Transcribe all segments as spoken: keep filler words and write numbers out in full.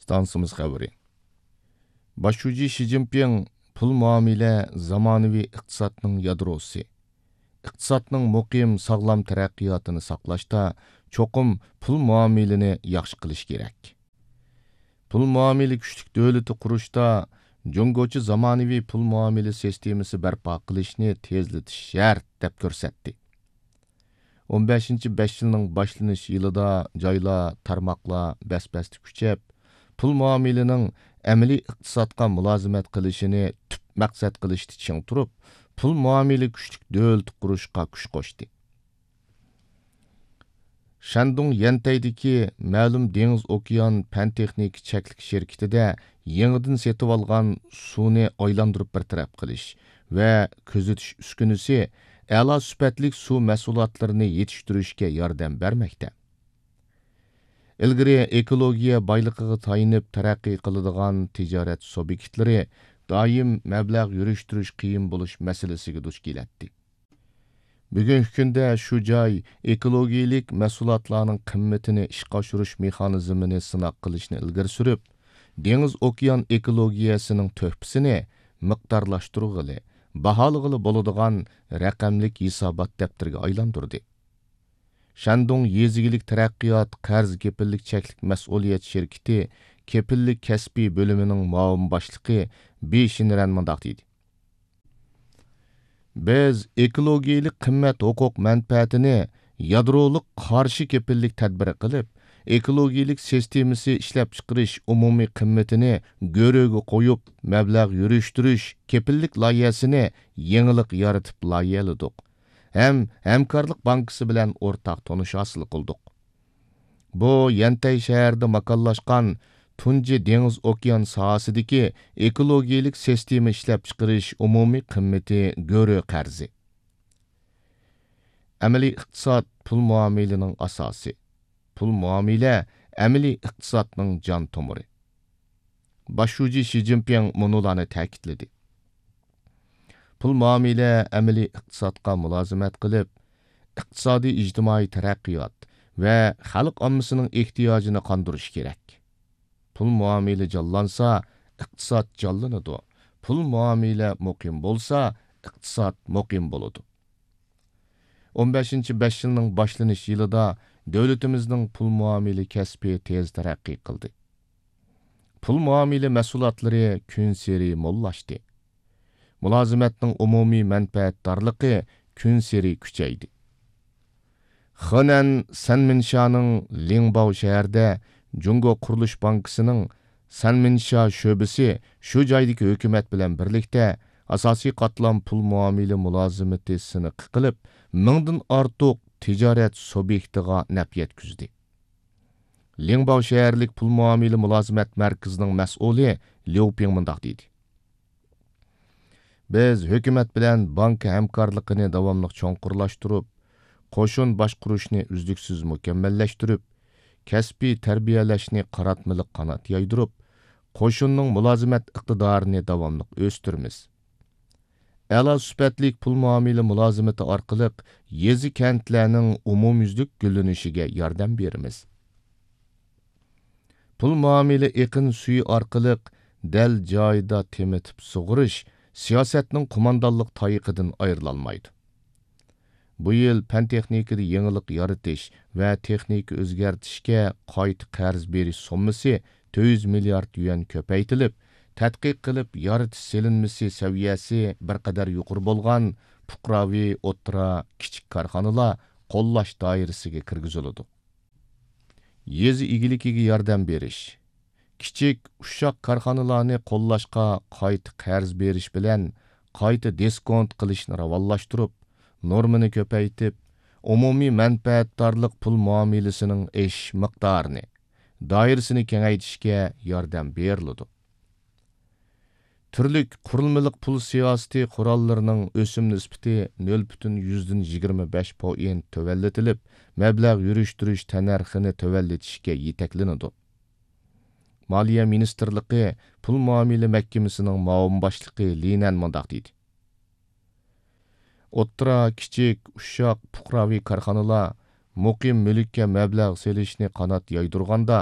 ئىستانسىمىز خەۋىرى. باش شۇجى شى جىنپىڭ پۇل مۇئامىلە زامانىۋى ئىقتىسادنىڭ يادروسى. ئىقتىسادنىڭ مۇقىم، ساغلام تەرەققىياتىنى ساقلاشتا چوقۇم پۇل مۇئامىلىنى ياخشى قىلىش كېرەك. پۇل مۇئامىلە كۈچلۈك دۆلىتى قۇرۇشتا جۇڭگوچە زامانىۋى پۇل مۇئامىلە سىستېمىسى بەرپا قىلىشنى تېزلىتىش شەرت، دەپ كۆرسەتتى. ئون بەشىنچى بەش يىلنىڭ باشلىنىش يىلىدا جايلار، تارماقلار بەس-بەستە كۈچەپ، پۇل مۇئامىلىنىڭ ئەمەلىي ئىقتىسادقا مۇلازىمەت قىلىشىنى تۈپ مەقسەت قىلىشتا چىڭ تۇرۇپ، پۇل مۇئامىلە كۈچلۈك دۆلىتى قۇرۇشقا كۈچ قوشتى. شەندۇڭ يەنتەيدىكى مەلۇم دېڭىز ئوكيان پەن تېخنىكا چەكلىك شىركىتىدە يېڭىدىن سېتىۋالغان سۇنى ئايلاندۇرۇپ بىر تەرەپ قىلىش ۋە كۆزىتىش ئۈسكۈنىسى ئەلا سۈپەتلىك سۇ مەھسۇلاتلىرىنى يېتىشتۈرۈشكە ياردەم بەرمەكتە. ئىلگىرى ئېكولوگىيە بايلىقىغا تايىنىپ تەرەققىي قىلىدىغان تىجارەت سۇبيېكتلىرى دائىم مەبلەغ يۈرۈشتۈرۈش قىيىن بولۇش مەسىلىسىگە دۇچ كېلەتتى. بۈگۈنكى كۈندە شۇ جاي ئېكولوگىيەلىك مەھسۇلاتلارنىڭ قىممىتىنى ئىشقا ئاشۇرۇش مېخانىزمىنى سىناق قىلىشنى ئىلگىرى سۈرۈپ، دېڭىز ئوكيان ئېكولوگىيەسىنىڭ تۆھپىسىنى مىقدارلاشتۇرغىلى، باھالىغىلى بولىدىغان رەقەملىك ھېسابات دەپتىرىگە ئايلاندۇردى. شەندۇڭ يېزا ئىگىلىك تەرەققىيات قەرز كېپىللىك چەكلىك مەسئۇلىيەت شىركىتى كېپىللىك كەسپىي بۆلۈمىنىڭ مۇئاۋىن باشلىقى بى شىنرەن مۇنداق دېدى: بىز ئېكولوگىيەلىك قىممەت ھوقۇق مەنپەئەتىنى يادرولۇق قارشى كېپىللىك تەدبىرى قىلىپ، ئېكولوگىيەلىك سىستېمىسى ئىشلەپچىقىرىش ئومۇمىي قىممىتىنى گۆرۈگە قويۇپ، مەبلەغ يۈرۈشتۈرۈش كېپىللىك لايىھەسىنى يېڭىلىق يارىتىپ لايىھەلىدۇق ھەم ھەمكارلىق بانكىسى بىلەن ئورتاق تونۇش ھاسىل قىلدۇق. بۇ يەنتەي شەھىرىدە ماكانلاشقان تۇنجى دېڭىز ئوكيان ساھەسىدىكى ئېكولوگىيەلىك سىستېما ئىشلەپچىقىرىش ئومۇمىي قىممىتى گۆرۈ قەرزى. ئەمەلىي ئىقتىساد پۇل مۇئامىلىنىڭ ئاساسى. پۇل مۇئامىلە ئەمەلىي ئىقتىسادنىڭ جان تومۇرى. باش شۇجى شى جىنپىڭ مۇنۇلارنى تەكىتلىدى: پۇل مۇئامىلە ئەمەلىي ئىقتىسادقا مۇلازىمەت قىلىپ، ئىقتىسادىي ئىجتىمائىي تەرەققىيات ۋە خەلق ئاممىسىنىڭ ئېھتىياجىنى قاندۇرۇشى كېرەك. پۇل مۇئامىلە جانلانسا، ئىقتىساد جانلىنىدۇ. پۇل مۇئامىلە مۇقىم بولسا، ئىقتىساد مۇقىم بولىدۇ. ئون بەشىنچى بەش يىلنىڭ باشلىنىش يىلىدا دۆلىتىمىزنىڭ پۇل مۇئامىلە كەسپى تېز تەرەققىي قىلدى. پۇل مۇئامىلە مەھسۇلاتلىرى كۈنسېرى موللاشتى. مۇلازىمەتنىڭ ئومۇمىي مەنپەئەتدارلىقى كۈنسېرى كۈچەيدى. خېنەن سەنمىنشانىڭ لىڭباۋ شەھىرىدە جۇڭگو قۇرۇلۇش بانكىسىنىڭ سەنمىنشا شۆبىسى شۇ جايدىكى ھۆكۈمەت بىلەن بىرلىكتە ئاساسىي قاتلام پۇل مۇئامىلە مۇلازىمىتى سىنىقى قىلىپ، مىڭدىن ئارتۇق تىجارەت سۇبيېكتىغا نەپ يەتكۈزدى. لىڭباۋ شەھەرلىك پۇل مۇئامىلە مۇلازىمەت مەركىزىنىڭ مەسئۇلى ليۇ پىڭ مۇنداق دېدى: بىز ھۆكۈمەت بىلەن بانكا ھەمكارلىقىنى داۋاملىق چوڭقۇرلاشتۇرۇپ، قوشۇن باشقۇرۇشنى ئۈزلۈكسىز مۇكەممەللەشتۈرۈپ، كەسپىي تەربىيەلەشنى قاراتمىلىق قانات يايدۇرۇپ، قوشۇننىڭ مۇلازىمەت ئىقتىدارىنى داۋاملىق ئۆستۈرىمىز. ئەلا سۈپەتلىك پۇل مۇئامىلە مۇلازىمىتى ئارقىلىق يېزا، كەنتلەرنىڭ ئومۇميۈزلۈك گۈللىنىشىگە ياردەم بېرىمىز. پۇل مۇئامىلە ئېقىن سۈيى ئارقىلىق دەل جايىدا تېمىتىپ سۇغىرىش سىياسەتنىڭ قوماندانلىق تايىقىدىن ئايرىلالمايدۇ. بۇ يىل پەن-تېخنىكىدا يېڭىلىق يارىتىش ۋە تېخنىكا ئۆزگەرتىشكە قايتا قەرز بېرىش سوممىسى تۆت يۈز مىليارد يۈەن كۆپەيتىلىپ، تەتقىق قىلىپ يارىتىش سېلىنمىسى سەۋىيەسى بىر قەدەر يۇقىرى بولغان پۇقراۋى، ئوتتۇرا، كىچىك كارخانىلار قوللاش دائىرىسىگە كىرگۈزۈلىدۇ. يېزا ئىگىلىكىگە ياردەم بېرىش، كىچىك، ئۇششاق كارخانىلارنى قوللاشقا قايتا قەرز بېرىش بىلەن قايتا دىسكونت قىلىشنى راۋانلاشتۇرۇپ، نورمىنى كۆپەيتىپ، ئومۇمىي مەنپەئەتدارلىق پۇل مۇئامىلىسىنىڭ ئېشىش مىقدارىنى، دائىرىسىنى كېڭەيتىشكە ياردەم بېرىلىدۇ. تۈرلۈك قۇرۇلمىلىق پۇل سىياسىتى قوراللىرىنىڭ ئۆسۈم نىسبىتى نۆل پۈتۈن يۈزدىن يىگىرمە بەش پوئىنت تۆۋەنلىتىلىپ، مەبلەغ يۈرۈشتۈرۈش تەننەرخىنى تۆۋەنلىتىشكە يېتەكلىنىدۇ. مالىيە مىنىستىرلىقى پۇل مۇئامىلە مەھكىمىسىنىڭ مۇئاۋىن باشلىقى لى نەن مۇنداق دېدى: ئوتتۇرا، كىچىك، ئۇششاق، پۇقراۋى كارخانىلار مۇقىم مۈلۈككە مەبلەغ سېلىشنى قانات يايدۇرغاندا،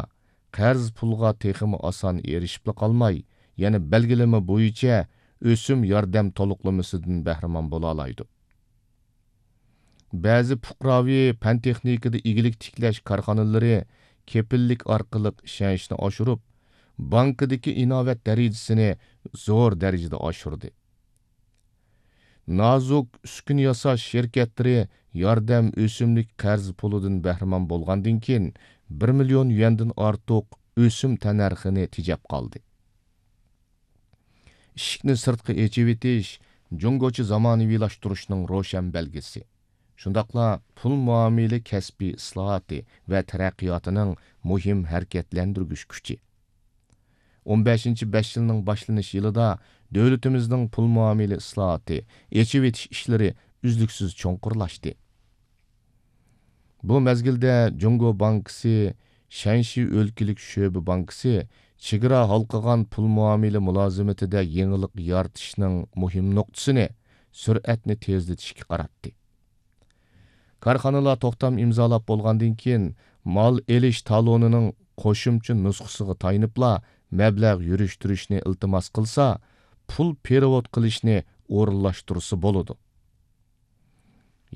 قەرز پۇلغا تېخىمۇ ئاسان ئېرىشىپلا قالماي، يەنە بەلگىلىمە بويىچە ئۆسۈم ياردەم تولۇقلىمىسىدىن بەھرىمەن بولالايدۇ. بەزى پۇقراۋى پەن-تېخنىكىدا ئىگىلىك تىكلەش كارخانىلىرى كېپىللىك ئارقىلىق ئىشەنچنى ئاشۇرۇپ، بانكىدىكى ئىناۋەت دەرىجىسىنى زور دەرىجىدە ئاشۇردى. نازۇك ئۈسكۈنە ياساش شىركەتلىرى ياردەم ئۆسۈملۈك قەرز پۇلىدىن بەھرىمەن بولغاندىن كېيىن، بىر مىليون يۈەندىن ئارتۇق ئۆسۈم تەننەرخىنى تېجەپ قالدى. ئىشىكنى سىرتقا ئېچىۋېتىش جۇڭگوچە زامانىۋىلاشتۇرۇشنىڭ روشەن بەلگىسى. شۇنداقلا پۇل مۇئامىلە كەسپى ئىسلاھاتى ۋە تەرەققىياتىنىڭ مۇھىم ھەرىكەتلەندۈرگۈچ كۈچى. ئون بەشىنچى بەش يىلنىڭ باشلىنىش يىلىدا دۆلىتىمىزنىڭ پۇل مۇئامىلە ئىسلاھاتى، ئېچىۋېتىش ئىشلىرى ئۈزلۈكسىز چوڭقۇرلاشتى. بۇ مەزگىلدە جۇڭگو بانكىسى شەنشى ئۆلكىلىك شۆبە بانكىسى چېگرا ھالقىغان پۇل مۇئامىلە مۇلازىمىتىدە يېڭىلىق يارىتىشنىڭ مۇھىم نۇقتىسىنى سۈرئەتنى تېزلىتىشكە قاراتتى. كارخانىلار توختام ئىمزالاپ بولغاندىن كېيىن، مال ئېلىش تالونىنىڭ قوشۇمچە نۇسخىسىغا تايىنىپلا مەبلەغ يۈرۈشتۈرۈشنى ئىلتىماس قىلسا، پۇل پېرېۋوت قىلىشنى ئورۇنلاشتۇرسا بولىدۇ.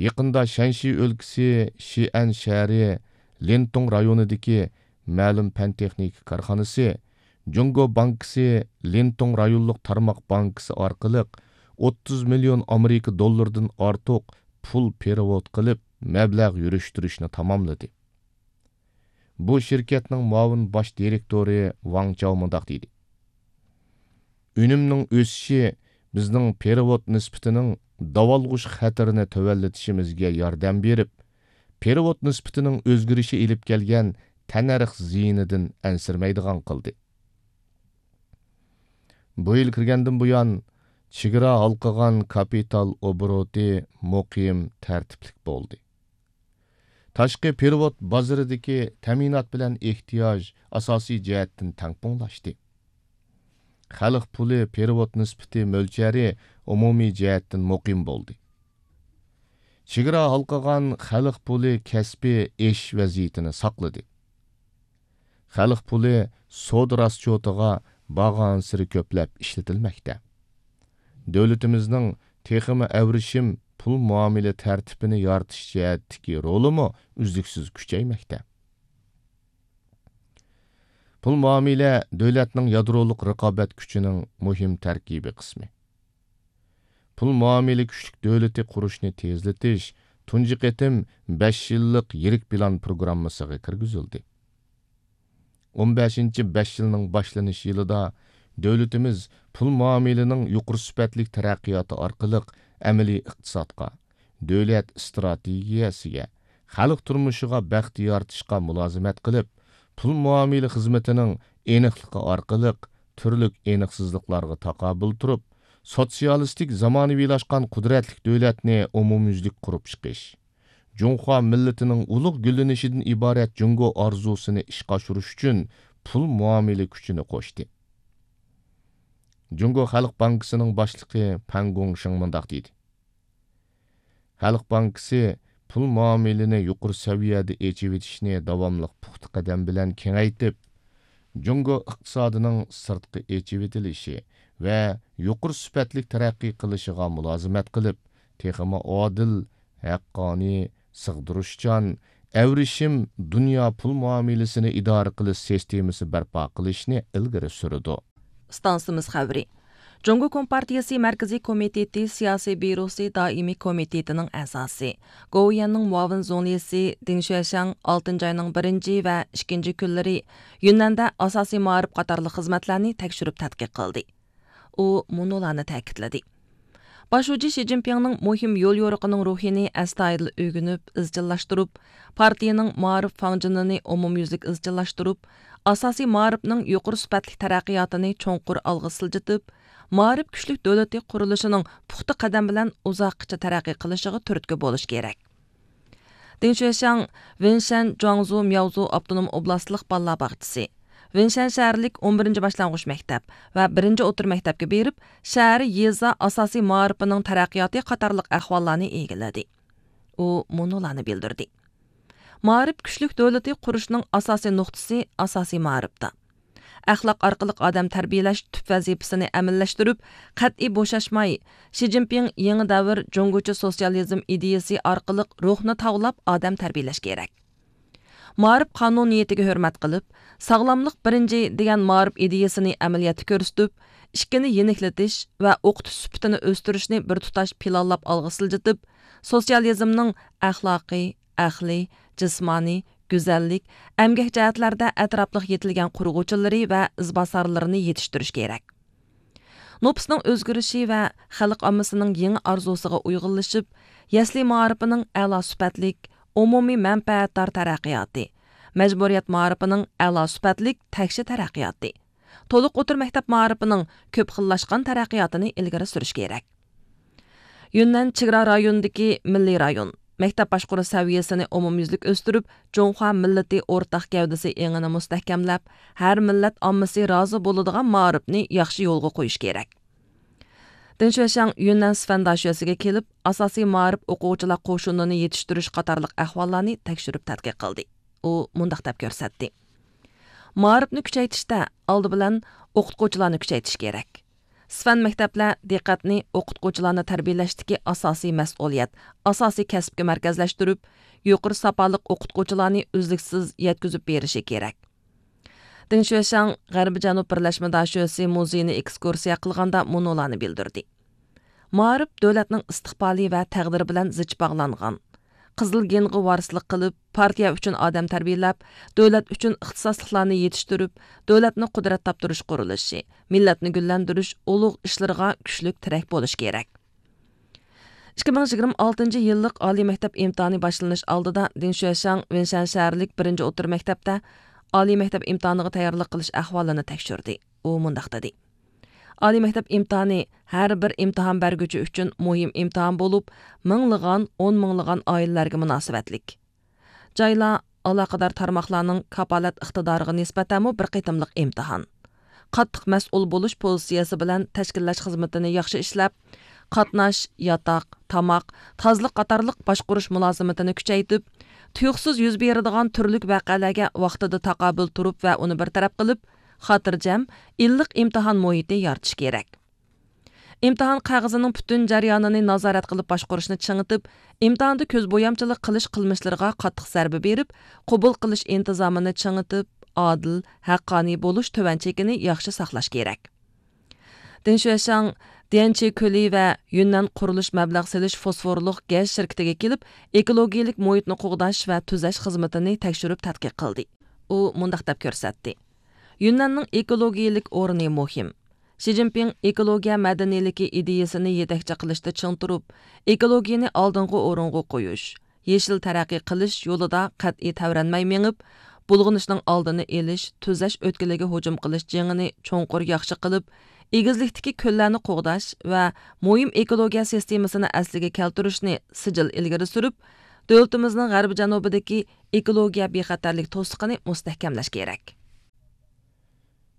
يېقىندا شەنشى ئۆلكىسى شىئەن شەھىرى لىنتۇڭ رايونىدىكى مەلۇم پەن-تېخنىكا كارخانىسى جۇڭگو بانكىسى لىنتۇڭ رايونلۇق تارماق بانكىسى ئارقىلىق ئوتتۇز مىليون ئامېرىكا دوللىرىدىن ئارتۇق پۇل پېرېۋوت قىلىپ، مەبلەغ يۈرۈشتۈرۈشنى تاماملىدى. بۇ شىركەتنىڭ مۇئاۋىن باش دىرېكتورى ۋاڭ چاۋ مۇنداق دېدى: ئۈنۈمنىڭ ئۆسۈشى بىزنىڭ پېرېۋوت نىسبىتىنىڭ داۋالغۇش خەتىرىنى تۆۋەنلىتىشىمىزگە ياردەم بېرىپ، پېرېۋوت نىسبىتىنىڭ ئۆزگىرىشى ئېلىپ كەلگەن تەننەرخ زىيىنىدىن ئەنسىرىمەيدىغان قىلدى. بۇ يىل كىرگەندىن بۇيان، چېگرا ھالقىغان كاپىتال ئوبوروتى مۇقىم، تەرتىپلىك بولدى. تاشقى پېرېۋوت بازىرىدىكى تەمىنات بىلەن ئېھتىياج ئاساسىي جەھەتتىن تەڭپۇڭلاشتى. خەلق پۇلى پېرېۋوت نىسبىتى مۆلچەرى ئومۇمىي جەھەتتىن مۇقىم بولدى. چېگرا ھالقىغان خەلق پۇلى كەسپى ئېشىش ۋەزىيىتىنى ساقلىدى. خەلق پۇلى سودا راسچوتىغا بارغانسېرى كۆپلەپ ئىشلىتىلمەكتە. دۆلىتىمىزنىڭ تېخىمۇ ئەۋرىشىم پۇل مۇئامىلە تەرتىپىنى يارىتىش جەھەتتىكى رولىمۇ ئۈزلۈكسىز كۈچەيمەكتە. پۇل مۇئامىلە دۆلەتنىڭ يادرولۇق رىقابەت كۈچىنىڭ مۇھىم تەركىبىي قىسمى. پۇل مۇئامىلە كۈچلۈك دۆلىتى قۇرۇشنى تېزلىتىش تۇنجى قېتىم بەش يىللىق يىرىك پىلان پروگراممىسىغا كىرگۈزۈلدى. ئون بەشىنچى بەش يىلنىڭ باشلىنىش يىلىدا دۆلىتىمىز پۇل مۇئامىلىنىڭ يۇقىرى سۈپەتلىك تەرەققىياتى ئارقىلىق ئەمەلىي ئىقتىسادقا، دۆلەت ئىستراتېگىيەسىگە، خەلق تۇرمۇشىغا بەخت يارىتىشقا مۇلازىمەت قىلىپ، پۇل مۇئامىلە خىزمىتىنىڭ ئېنىقلىقى ئارقىلىق تۈرلۈك ئېنىقسىزلىقلارغا تاقابىل تۇرۇپ، سوتسىيالىستىك زامانىۋىلاشقان قۇدرەتلىك دۆلەتنى ئومۇميۈزلۈك قۇرۇپ چىقىش، جۇڭخۇا مىللىتىنىڭ ئۇلۇغ گۈللىنىشىدىن ئىبارەت جۇڭگو ئارزۇسىنى ئىشقا ئاشۇرۇش ئۈچۈن پۇل مۇئامىلە كۈچىنى قوشتى. جۇڭگو خەلق بانكىسىنىڭ باشلىقى پەن گۇڭشېڭ مۇنداق دېدى: خەلق بانكىسى پۇل مۇئامىلىنى يۇقىرى سەۋىيەدە ئېچىۋېتىشنى داۋاملىق پۇختا قەدەم بىلەن كېڭەيتىپ، جۇڭگو ئىقتىسادىنىڭ سىرتقا ئېچىۋېتىلىشى ۋە يۇقىرى سۈپەتلىك تەرەققىي قىلىشىغا مۇلازىمەت قىلىپ، تېخىمۇ ئادىل، ھەققانىي، سىغدۇرۇشچان، ئەۋرىشىم دۇنيا پۇل مۇئامىلىسىنى ئىدارە قىلىش سىستېمىسى بەرپا قىلىشنى ئىلگىرى سۈرىدۇ. ئىستانسىمىز خەۋىرى. جۇڭگو كومپارتىيىسى مەركىزىي كومىتېتى سىياسىي بيۇروسى دائىمىي كومىتېتىنىڭ ئەزاسى، گوۋۇيۈەننىڭ مۇئاۋىن زۇڭلىسى دېڭ شۈەشياڭ ئالتىنچى ئاينىڭ بىرىنچى ۋە ئىككىنچى كۈنلىرى يۈننەندە ئاساسىي مائارىپ قاتارلىق خىزمەتلەرنى تەكشۈرۈپ تەتقىق قىلدى. ئۇ مۇنۇلارنى تەكىتلىدى: باش شۇجى شى جىنپىڭنىڭ مۇھىم يول يورۇقىنىڭ روھىنى ئەستايىدىل ئۆگىنىپ، ئىزچىللاشتۇرۇپ، پارتىيىنىڭ مائارىپ فاڭجېنىنى ئومۇميۈزلۈك ئىزچىللاشتۇرۇپ، ئاساسىي مائارىپنىڭ يۇقىرى سۈپەتلىك تەرەققىياتىنى چوڭقۇر ئالغا سىلجىتىپ، مائارىپ كۈچلۈك دۆلىتى قۇرۇلۇشىنىڭ پۇختا قەدەم بىلەن ئۇزاققىچە تەرەققىي قىلىشىغا تۈرتكە بولۇش كېرەك. دېڭ شۈەشياڭ ۋېنشەن جۇاڭزۇ مياۋزۇ ئاپتونوم ئوبلاستلىق بالىلار باغچىسى، ۋېنشەن شەھەرلىك ئون بىرىنچى باشلانغۇچ مەكتەپ ۋە بىرىنچى ئوتتۇرا مەكتەپكە بېرىپ، شەھەر، يېزا ئاساسىي مائارىپىنىڭ تەرەققىياتى قاتارلىق ئەھۋاللارنى ئىگىلىدى. ئۇ مۇنۇلارنى بىلدۈردى: مائارىپ كۈچلۈك دۆلىتى قۇرۇشنىڭ ئاساسىي نۇقتىسى ئاساسىي مائارىپتا. ئەخلاق ئارقىلىق ئادەم تەربىيەلەش تۈپ ۋەزىپىسىنى ئەمەلىيلەشتۈرۈپ، قەتئىي بوشاشماي، شى جىنپىڭ يېڭى دەۋر جۇڭگوچە سوتسىيالىزم ئىدىيىسى ئارقىلىق روھنى تاۋلاپ ئادەم تەربىيەلەش كېرەك. مائارىپ قانۇنىيىتىگە ھۆرمەت قىلىپ، ساغلاملىق بىرىنچى دېگەن مائارىپ ئىدىيىسىنى ئەمەلىيەتتە كۆرسىتىپ، ئىككىنى يېنىكلىتىش ۋە ئوقۇتۇش سۈپىتىنى ئۆستۈرۈشنى بىر تۇتاش پىلانلاپ ئالغا سىلجىتىپ، سوتسىيالىزمنىڭ ئەخلاقىي، ئەقلىي، جىسمانىي، گۈزەللىك، ئەمگەك جەھەتلەردە ئەتراپلىق يېتىلگەن قۇرغۇچىلىرى ۋە ئىزباسارلىرىنى يېتىشتۈرۈش كېرەك. نوپۇسنىڭ ئۆزگىرىشى ۋە خەلق ئاممىسىنىڭ يېڭى ئارزۇسىغا ئۇيغۇنلىشىپ، يەسلى مائارىپىنىڭ ئەلا سۈپەتلىك، ئومۇمىي مەنپەئەتدار تەرەققىياتى، مەجبۇرىيەت مائارىپىنىڭ ئەلا سۈپەتلىك تەكشى تەرەققىياتى، تولۇق ئوتتۇرا مەكتەپ مائارىپىنىڭ كۆپ خىللاشقان تەرەققىياتىنى ئىلگىرى سۈرۈش كېرەك. يۈننەن چېگرا رايونىدىكى مىللىي رايون، مەكتەپ باشقۇرۇش سەۋىيەسىنى ئومۇميۈزلۈك ئۆستۈرۈپ، جۇڭخۇا مىللىتى ئورتاق گەۋدىسى ئېڭىنى مۇستەھكەملەپ، ھەر مىللەت ئاممىسى رازى بولىدىغان مائارىپنى ياخشى يولغا قويۇش كېرەك. دېڭ شۈەشياڭ يۈننەن سىفەن داشۆسىگە كېلىپ، ئاساسىي مائارىپ ئوقۇغۇچىلار قوشۇنىنى يېتىشتۈرۈش قاتارلىق ئەھۋاللارنى تەكشۈرۈپ تەتقىق قىلدى. ئۇ مۇنداق دەپ كۆرسەتتى: مائارىپنى كۈچەيتىشتە، ئالدى بىلەن ئوقۇتقۇچىلارنى كۈچەيتىش كېرەك. سىفەن مەكتەپلەر دىققەتنى ئوقۇتقۇچىلارنى تەربىيەلەشتىكى ئاساسىي مەسئۇلىيەت، ئاساسىي كەسىپكە مەركەزلەشتۈرۈپ، يۇقىرى ساپالىق ئوقۇتقۇچىلارنى ئۈزلۈكسىز يەتكۈزۈپ بېرىشى كېرەك. دېڭ شۈەشياڭ غەربىي جەنۇب بىرلەشمە داشۆسى مۇزېيىنى ئېكسكۇرسىيە قىلغاندا مۇنۇلارنى بىلدۈردى: مائارىپ دۆلەتنىڭ ئىستىقبالى ۋە تەقدىرى بىلەن زىچ باغلانغان. قىزىل گېنغا ۋارىسلىق قىلىپ، پارتىيە ئۈچۈن ئادەم تەربىيەلەپ، دۆلەت ئۈچۈن ئىختىساسلىقلارنى يېتىشتۈرۈپ، دۆلەتنى قۇدرەت تاپتۇرۇش قۇرۇلۇشى، مىللەتنى گۈللەندۈرۈش ئۇلۇغ ئىشلىرىغا كۈچلۈك تىرەك بولۇش كېرەك. ئىككى مىڭ يىگىرمە ئالتىنچى يىللىق ئالىي مەكتەپ ئىمتىھانى باشلىنىش ئالدىدا دېڭ شۈەشياڭ ۋېنشەن شەھەرلىك بىرىنچى ئوتتۇرا مەكتەپتە ئالىي مەكتەپ ئىمتىھانىغا تەييارلىق قىلىش ئەھۋالىنى تەكشۈردى. ئۇ مۇنداق دېدى: ئالىي مەكتەپ ئىمتىھانى ھەر بىر ئىمتىھان بەرگۈچى ئۈچۈن مۇھىم ئىمتىھان بولۇپ، مىڭلىغان، ئون مىڭلىغان ئائىلىلەرگە مۇناسىۋەتلىك. جايلار، ئالاقىدار تارماقلارنىڭ كاپالەت ئىقتىدارىغا نىسبەتەنمۇ بىر قېتىملىق ئىمتىھان. قاتتىق مەسئۇل بولۇش پوزىتسىيەسى بىلەن تەشكىللەش خىزمىتىنى ياخشى ئىشلەپ، قاتناش، ياتاق، تاماق، تازىلىق قاتارلىق باشقۇرۇش مۇلازىمىتىنى كۈچەيتىپ، تۇيۇقسىز يۈز بېرىدىغان تۈرلۈك ۋەقەلەرگە ۋاقتىدا تاقابىل تۇرۇپ ۋە ئۇنى بىر تەرەپ قىلىپ، خاتىرجەم، ئىللىق ئىمتىھان مۇھىتى يارىتىش كېرەك. ئىمتىھان قەغىزىنىڭ پۈتۈن جەريانىنى نازارەت قىلىپ باشقۇرۇشنى چىڭىتىپ، ئىمتىھاندا كۆز بويامچىلىق قىلىش قىلمىشلىرىغا قاتتىق زەربە بېرىپ، قوبۇل قىلىش ئىنتىزامىنى چىڭىتىپ، ئادىل، ھەققانىي بولۇش تۆۋەن چېكىنى ياخشى ساقلاش كېرەك. دېڭ شۈەشياڭ ديەنچى كۆلى ۋە يۈننەن قۇرۇلۇش مەبلەغ سېلىش فوسفورلۇق گەز شىركىتىگە كېلىپ، ئېكولوگىيەلىك مۇھىتنى قوغداش ۋە تۈزەش خىزمىتىنى تەكشۈرۈپ تەتقىق قىلدى. ئۇ مۇنداق دەپ كۆرسەتتى: يۈننەننىڭ ئېكولوگىيەلىك ئورنى مۇھىم. شى جىنپىڭ ئېكولوگىيە مەدەنىيلىكى ئىدىيىسىنى يېتەكچى قىلىشتا چىڭ تۇرۇپ، ئېكولوگىيەنى ئالدىنقى ئورۇنغا قويۇش، يېشىل تەرەققىي قىلىش يولىدا قەتئىي تەۋرەنمەي مېڭىپ، بۇلغىنىشنىڭ ئالدىنى ئېلىش، تۈزەش ئۆتكىلىگە ھۇجۇم قىلىش جېڭىنى چوڭقۇر ياخشى قىلىپ، ئېگىزلىكتىكى كۆللەرنى قوغداش ۋە مۇھىم ئېكولوگىيە سىستېمىسىنى ئەسلىگە كەلتۈرۈشنى سىجىل ئىلگىرى سۈرۈپ، دۆلىتىمىزنىڭ غەربىي جەنۇبىدىكى ئېكولوگىيە بىخەتەرلىك توسۇقىنى مۇستەھكەملەش كېرەك.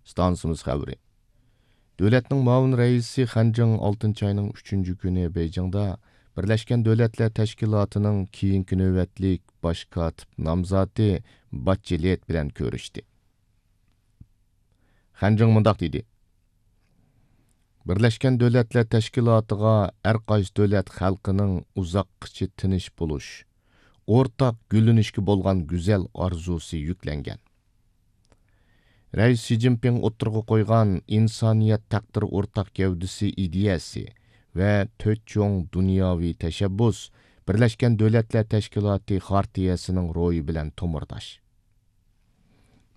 ئىستانسىمىز خەۋىرى. دۆلەتنىڭ مۇئاۋىن رەئىسى خەنجىڭ ئالتىنچى ئاينىڭ ئۈچىنچى كۈنى بېيجىڭدا بىرلەشكەن دۆلەتلەر تەشكىلاتىنىڭ كېيىنكى نۆۋەتلىك باش كاتىپ نامزاتى باتچېلېت بىلەن كۆرۈشتى. خەنجىڭ مۇنداق دېدى: بىرلەشكەن دۆلەتلەر تەشكىلاتىغا ھەر قايسى دۆلەت خەلقىنىڭ ئۇزاققىچە تىنچ بولۇش، ئورتاق گۈللىنىشكە بولغان گۈزەل ئارزۇسى يۈكلەنگەن. رەئىس شى جىنپىڭ ئوتتۇرىغا قويغان ئىنسانىيەت تەقدىرى ئورتاق گەۋدىسى ئىدىيەسى ۋە تۆت چوڭ دۇنياۋى تەشەببۇس بىرلەشكەن دۆلەتلەر تەشكىلاتى خارتىيەسىنىڭ روھى بىلەن تومۇرداش.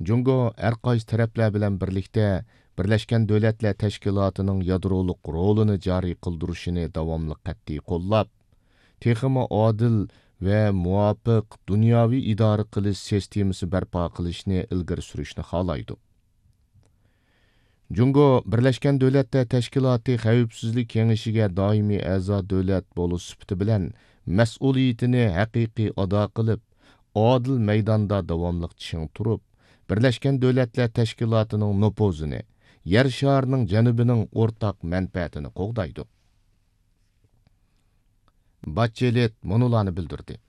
جۇڭگو ھەر قايسى تەرەپلەر بىلەن بىرلىكتە بىرلەشكەن دۆلەتلەر تەشكىلاتىنىڭ يادرولۇق رولىنى جارى قىلدۇرۇشىنى داۋاملىق قەتئىي قوللاپ، تېخىمۇ ئادىل ۋە مۇۋاپىق دۇنياۋى ئىدارە قىلىش سىستېمىسى بەرپا قىلىشنى ئىلگىرى سۈرۈشنى خالايدۇ. جۇڭگو بىرلەشكەن دۆلەتلەر تەشكىلاتى خەۋپسىزلىك كېڭىشىگە دائىمىي ئەزا دۆلەت بولۇش سۈپىتى بىلەن مەسئۇلىيىتىنى ھەقىقىي ئادا قىلىپ، ئادىل مەيداندا داۋاملىق چىڭ تۇرۇپ، بىرلەشكەن دۆلەتلەر تەشكىلاتىنىڭ نوپۇزىنى، يەر شارىنىڭ جەنۇبىنىڭ ئورتاق مەنپەئەتىنى قوغدايدۇ. باتچېلېت مۇنۇلارنى بىلدۈردى: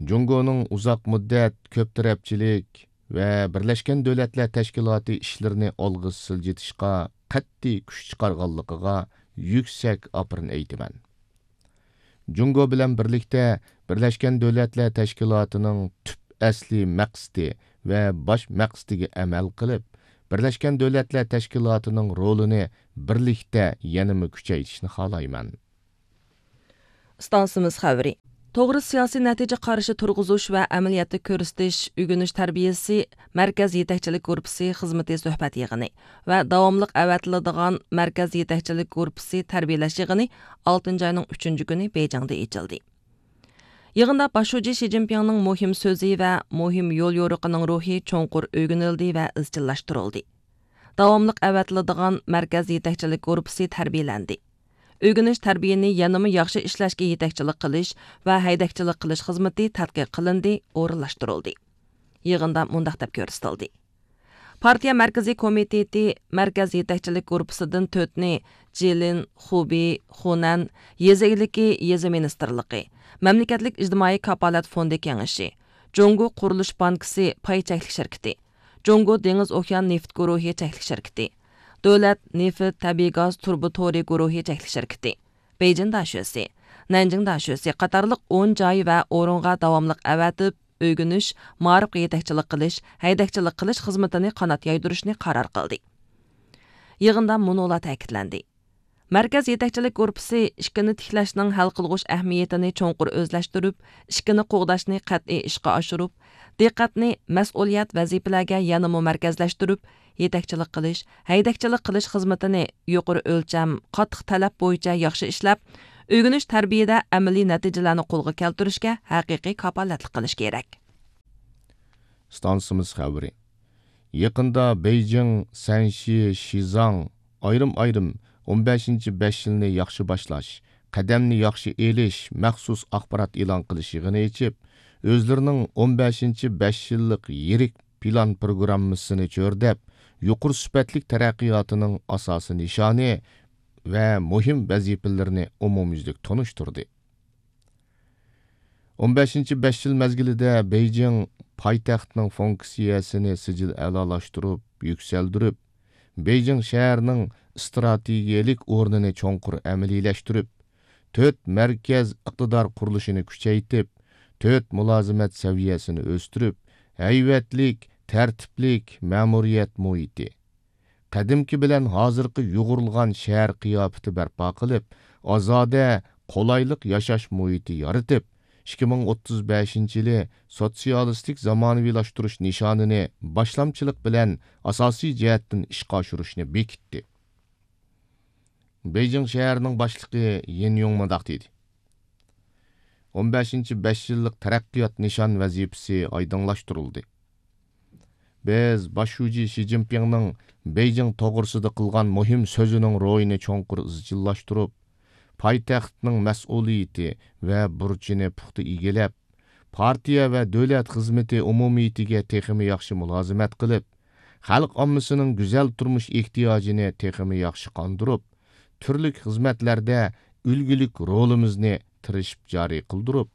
جۇڭگونىڭ ئۇزاق مۇددەت، كۆپ تەرەپچىلىك ۋە بىرلەشكەن دۆلەتلەر تەشكىلاتى ئىشلىرىنى ئالغا سىلجىتىشقا قەتئىي كۈچ چىقارغانلىقىغا يۈكسەك ئاپىرىن ئېيتىمەن. جۇڭگو بىلەن بىرلىكتە بىرلەشكەن دۆلەتلەر تەشكىلاتىنىڭ تۈپ ئەسلىي مەقسىتى ۋە باش مەقسىتىگە ئەمەل قىلىپ، بىرلەشكەن دۆلەتلەر تەشكىلاتىنىڭ رولىنى بىرلىكتە يەنىمۇ كۈچەيتىشنى خالايمەن. ئىستانسىمىز خەۋىرى. توغرا سىياسىي نەتىجە قارىشى تۇرغۇزۇش ۋە ئەمەلىيەتتە كۆرسىتىش ئۆگىنىش تەربىيەسى مەركەز يېتەكچىلىك گۇرۇپپىسى خىزمىتى سۆھبەت يىغىنى ۋە داۋاملىق ئەۋەتىلىدىغان مەركەز يېتەكچىلىك گۇرۇپپىسى تەربىيەلەش يىغىنى ئالتىنچى ئاينىڭ ئۈچىنچى كۈنى بېيجىڭدا ئېچىلدى. يىغىندا باش شۇجى شى جىنپىڭنىڭ مۇھىم سۆزى ۋە مۇھىم يوليورۇقىنىڭ روھى چوڭقۇر ئۆگىنىلدى ۋە ئىزچىللاشتۇرۇلدى. داۋاملىق ئەۋەتىلىدىغان مەركەز يېتەكچىلىك گۇرۇپپىسى تەربىيەلەندى. ئۆگىنىش تەربىيەنى يەنىمۇ ياخشى ئىشلەشكە يېتەكچىلىك قىلىش ۋە ھەيدەكچىلىك قىلىش خىزمىتى تەتقىق قىلىندى، ئورۇنلاشتۇرۇلدى. يىغىندا مۇنداق دەپ كۆرسىتىلدى. پارتىيە مەركىزىي كومىتېتى مەركەز يېتەكچىلىك گۇرۇپپىسىدىن تۆتنى جىلىن، خۇبېي، خۇنەن، يېزا ئىگىلىكى، يېزا مىنىستىرلىقى، مەملىكەتلىك ئىجتىمائىي كاپالەت فوندى كېڭىشى، جۇڭگو قۇرۇلۇش بانكىسى پاي چەكلىك شىركىتى، جۇڭگو دېڭىز ئوكيان نېفىت گۇرۇھى چەكلىك شىركىتى، دۆلەت نېفىت تەبىئىي گاز تۇرۇبا تورى گۇرۇھى چەكلىك شىركىتى، بېيجىڭ داشۆسى، نەنجىڭ داشۆسى قاتارلىق ئون جاي ۋە ئورۇنغا داۋاملىق ئەۋەتىپ، ئۆگىنىش، مائارىپقا يېتەكچىلىك قىلىش، ھەيدەكچىلىك قىلىش خىزمىتىنى قانات يايدۇرۇشنى قارار قىلدى. يىغىندا مۇنۇلار تەكىتلەندى. مەركەز يېتەكچىلىك گۇرۇپپىسى ئىككىنى تىكلەشنىڭ ھەل قىلغۇچ ئەھمىيىتىنى چوڭقۇر ئۆزلەشتۈرۈپ، ئىككىنى قوغداشنى قەتئىي ئىشقا ئاشۇرۇپ، دىققەتنى مەسئۇلىيەت ۋەزىپىلەرگە يەنىمۇ مەركەزلەشتۈرۈپ، يېتەكچىلىك قىلىش، ھەيدەكچىلىك قىلىش خىزمىتىنى يۇقىرى ئۆلچەم، قاتتىق تەلەپ بويىچە ياخشى ئىشلەپ، ئۆگىنىش تەربىيەدە ئەمەلىي نەتىجىلەرنى قولغا كەلتۈرۈشكە ھەقىقىي كاپالەتلىك قىلىش كېرەك. ئىستانسىمىز خەۋىرى. يېقىندا بېيجىڭ، سەنشى، شىزاڭ ئايرىم-ئايرىم ئون بەشىنچى بەش يىلنى ياخشى باشلاش، قەدەمنى ياخشى ئېلىش مەخسۇس ئاخبارات ئېلان قىلىش يىغىنى ئېچىپ، ئۆزلىرىنىڭ ئون بەشىنچى بەش يىللىق يىرىك پىلان پروگراممىسىنى چۆرىدەپ، يۇقىرى سۈپەتلىك تەرەققىياتىنىڭ ئاساسىي نىشانى ۋە مۇھىم ۋەزىپىلىرىنى ئومۇميۈزلۈك تونۇشتۇردى. ئون بەشىنچى بەش يىل مەزگىلىدە بېيجىڭ پايتەختنىڭ فۇنكسىيەسىنى سىجىل ئەلالاشتۇرۇپ، يۈكسەلدۈرۈپ، بېيجىڭ شەھىرىنىڭ ئىستراتېگىيەلىك ئورنىنى چوڭقۇر ئەمەلىيلەشتۈرۈپ، تۆت مەركەز ئىقتىدار قۇرۇلۇشىنى كۈچەيتىپ، تۆت مۇلازىمەت سەۋىيەسىنى ئۆستۈرۈپ، ھەيۋەتلىك، تەرتىپلىك مەمۇرىيەت مۇھىتى، قەدىمكى بىلەن ھازىرقى يۇغۇرۇلغان شەھەر قىياپىتى بەرپا قىلىپ، ئازادە، قولايلىق ياشاش مۇھىتى يارىتىپ، ئىككى مىڭ ئوتتۇز بەشىنچى يىلى سوتسىيالىستىك زامانىۋىلاشتۇرۇش نىشانىنى باشلامچىلىق بىلەن ئاساسىي جەھەتتىن ئىشقا ئاشۇرۇشنى بېكىتتى. بېيجىڭ شەھىرىنىڭ باشلىقى يىن يۇڭ مۇنداق دېدى: ئون بەشىنچى بەش يىللىق تەرەققىيات نىشان ۋەزىپىسى ئايدىڭلاشتۇرۇلدى. بىز باش شۇجى شى جىنپىڭنىڭ بېيجىڭ توغرىسىدا قىلغان مۇھىم سۆزىنىڭ روھىنى چوڭقۇر ئىزچىللاشتۇرۇپ، پايتەختنىڭ مەسئۇلىيىتى ۋە بۇرچىنى پۇختا ئىگىلەپ، پارتىيە ۋە دۆلەت خىزمىتى ئومۇمىيىتىگە تېخىمۇ ياخشى مۇلازىمەت قىلىپ، خەلق ئاممىسىنىڭ گۈزەل تۇرمۇش ئېھتىياجىنى تېخىمۇ ياخشى قاندۇرۇپ، تۈرلۈك خىزمەتلەردە ئۈلگىلىك رولىمىزنى تىرىشىپ جارى قىلدۇرۇپ،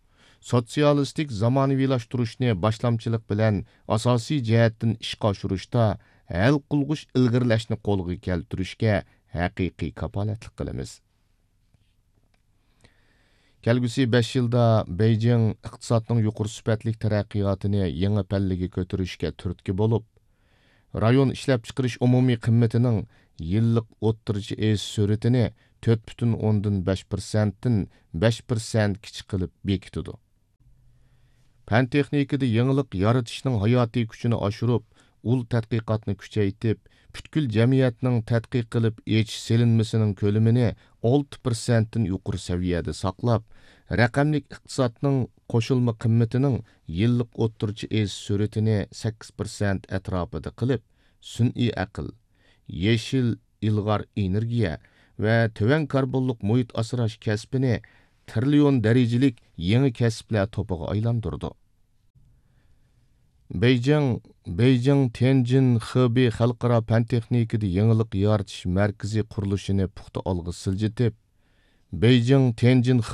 سوتسىيالىستىك زامانىۋىلاشتۇرۇشنى باشلامچىلىق بىلەن ئاساسىي جەھەتتىن ئىشقا ئاشۇرۇشتا ھەل قىلغۇچ ئىلگىرىلەشنى قولغا كەلتۈرۈشكە ھەقىقىي كاپالەتلىك قىلىمىز. كەلگۈسى بەش يىلدا بېيجىڭ ئىقتىسادنىڭ يۇقىرى سۈپەتلىك تەرەققىياتىنى يېڭى پەللىگە كۆتۈرۈشكە تۈرتكە بولۇپ، رايون ئىشلەپچىقىرىش ئومۇمىي قىممىتىنىڭ يىللىق ئوتتۇرىچە ئېشىش سۈرئىتىنى تۆت پۈتۈن ئوندىن بەش پىرسەنتتىن بەش پىرسەنتكىچە قىلىپ بېكىتىدۇ. پەن تېخنىكىدا يېڭىلىق يارىتىشنىڭ ھاياتىي كۈچىنى ئاشۇرۇپ، ئۇل تەتقىقاتنى كۈچەيتىپ، پۈتكۈل جەمئىيەتنىڭ تەتقىق قىلىپ ئېچىش سېلىنمىسىنىڭ كۆلىمىنى ئالتە پىرسەنتتىن يۇقىرى سەۋىيەدە ساقلاپ، رەقەملىك ئىقتىسادنىڭ قوشۇلما قىممىتىنىڭ يىللىق ئوتتۇرىچە ئېشىش سۈرئىتىنى سەككىز پىرسەنت ئەتراپىدا قىلىپ، سۈنئىي ئەقىل، يېشىل ئىلغار ئېنېرگىيە ۋە تۆۋەن كاربونلۇق مۇھىت ئاسراش كەسپىنى تىرىليون دەرىجىلىك يېڭى كەسىپلەر توپىغا ئايلاندۇرىدۇ. بېيجىڭ، بېيجىڭ تيەنجىن خېبېي خەلقئارا پەن تېخنىكىدا يېڭىلىق يارىتىش مەركىزى قۇرۇلۇشىنى پۇختا ئالغا سىلجىتىپ، بېيجىڭ تيەنجىن